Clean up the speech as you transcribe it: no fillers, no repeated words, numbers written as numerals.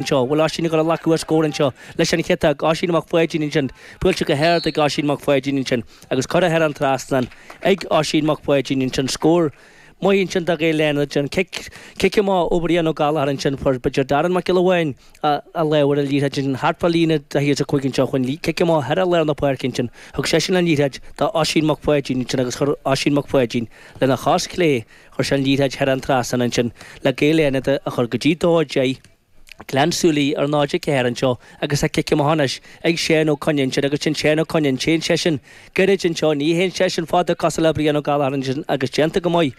Anseo, bhfuil Oisín ag dul a ghlacadh ar scór anseo leis an chiotach, Oisín Mac Pháidín ansin, buailte go hard ag Oisín Mac Pháidín ansin agus curtha thar an trasnán ag Oisín Mac Pháidín ansin. Scór maith ansin do Ghaeil Fhánada an cic, cic amach ó Bhrian Ó Gallchóir ansin, fuair b'fhéidir Darren Mac Giolla Bháin a lámh ar an liathróid ansin thart fá líne daichead is a cúig anseo chun cic amach thar lár na páirce ansin. Thug seisean an liathróid do Oisín Mac Pháidín ansin agus chuir Oisín Mac Pháidín lena chos chlé Chuir sé an liathróid thar an trasnán ansin le Gaeil Fhánada a chur go dtí 2-10. Gleann tSúilí ar 0-4 anseo agus tá cic amach anois ag Seán Ó Coinn ansin agus sin Seán Ó Coinn, téann seisean gairid anseo, ní théann seisean fada cosúil le Brian Ó Gallchóir ansin agus déanta go maith.